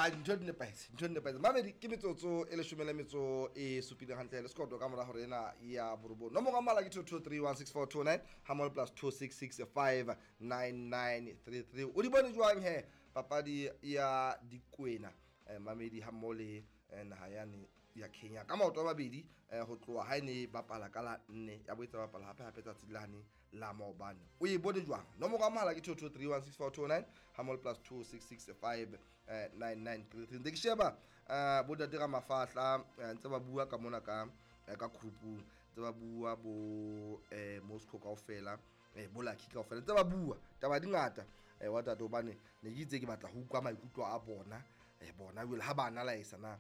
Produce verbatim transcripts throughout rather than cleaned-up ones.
A dintho di nepahetse, dintho di nepahetse. Mamedi, ke metsotso e leshome le metso e supileng hantle le sekoto ka mora hore ena ya borobong. Nomoro ya mohala ke two two three one six four two nine hammoho plus two six six five nine nine three three. O di bone jwang he papadi ya dikwena eh, mamedi hammoho le eh, naha yane ya Kenya ka maoto a mabedi eh, ho tloha ha e ne bapala ka la nne ya boetse bapala hape hape tsatsi lane la maobane. O e bone jwang? Nomoro ya mohala ke two two three one six four two nine hammoho plus two six six five nine nine three three. Ntse ke sheba eh, bo ntate Ramafahla eh, ntse ba bua ka mona ka eh, ka group-ung, ntse ba bua bo eh, Moscow kaofela eh, bo Lucky kaofela ntse ba bua taba di ngata eh, wa tate, hobane ne ke itse ke batla ho utlwa maikutlo a bona eh, bona jwale ha ba analyse na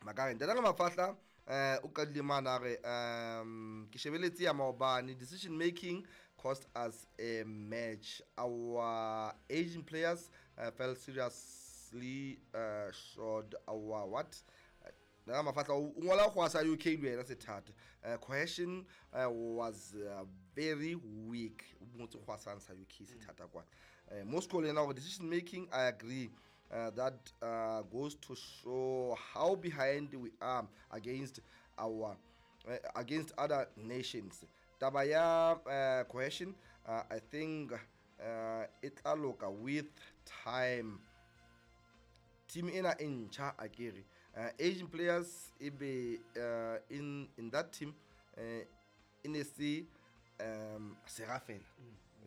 Makare ntate Ramafahla eh o qadile mane a re um ke shebeletse ya maobane, decision making cost us a match, our aging players uh, fell seriously uh, short our what. Ntate Mafahla o ngola go sa U K le wena sethata. Uh, cohesion uh, was uh, very weak. O ngotse go sa U K sethata kwa. Uh, Moscow le yena hore decision making, I agree. Uh, that uh, goes to show how behind we are against our uh, against other nations. Taba ya uh, cohesion, uh, I think uh, e tla loka with time. Team ena e ntjha akere. Uh, aging players e be uh, in, in that team uh, e ne se um sera fela.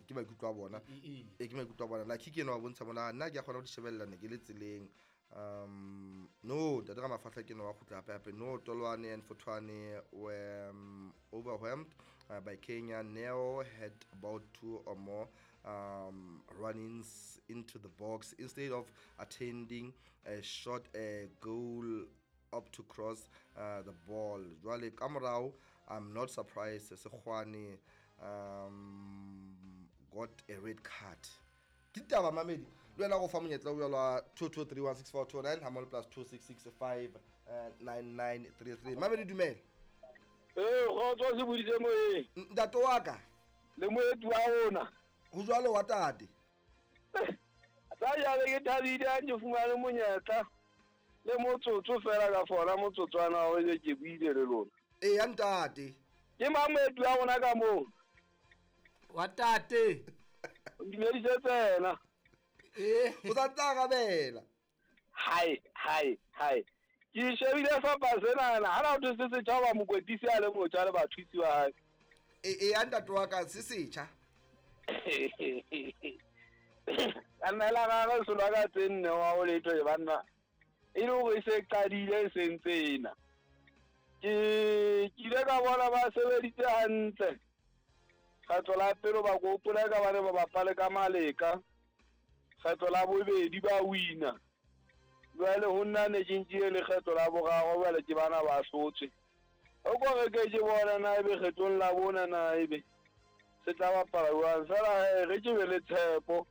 Ke maikutlo a bona. E ke maikutlo a bona. Like ke ena wa bontsha mona nna ke a kgona ho di shebella ne ke le tseleng. Um no, ntate Ramafahla ke ena wa kgutla hape hape. No, Tolwane and Fothwane were um, overwhelmed uh, by Kenya. Neo had about two or more um, run-ins into the box instead of attending a shot a goal up to cross uh, the ball. Jwale ka morao, I'm not surprised Sekgwane um, got a red card. Ke ditaba mamedi, le wena go fa monyetla o jwalo two two three one six four two nine hammoho plus two six six five nine nine three three. Mamedi dumela. Eh, kgotso se boditse moyeng. Ntate wa ka. Le moeti wa rona. Ho jwalo wa tate. Sa jale ke thabile ha ke fumane monyetla le motsotso fela ka fona motsotswana o ke ke buile le lona. Eh, ya ntate. Ke mang moeti wa rona ka moo? Wa tate. O dumedise tsena. Eh, o sa ntse arabela. Hai, hai, hai. Ke shebile fapa sena ha na o se setjha ba mokwetlisi a le motjha le bathusi wa hae. Eh, eh, ya ntate wa ka se setjha. Ka nna la gagwe selo ka tse nne wa o letho e banna. E le hore e se qadile e sentse ena. Ke ke ile ka bona ba sebeditse hantle. Kgetlo la pele ba gopola ka bane ba bapale ka Maleka. Kgetlo la bobedi ba wina. Jwale ho nna ne ke nkile le kgetlo la boraro jwale ke bana ba hlotswe. O ko re ke ke bona na ebe kgetlong la bona na ebe se tla bapala jwang. Fela he re ke be le tshepo.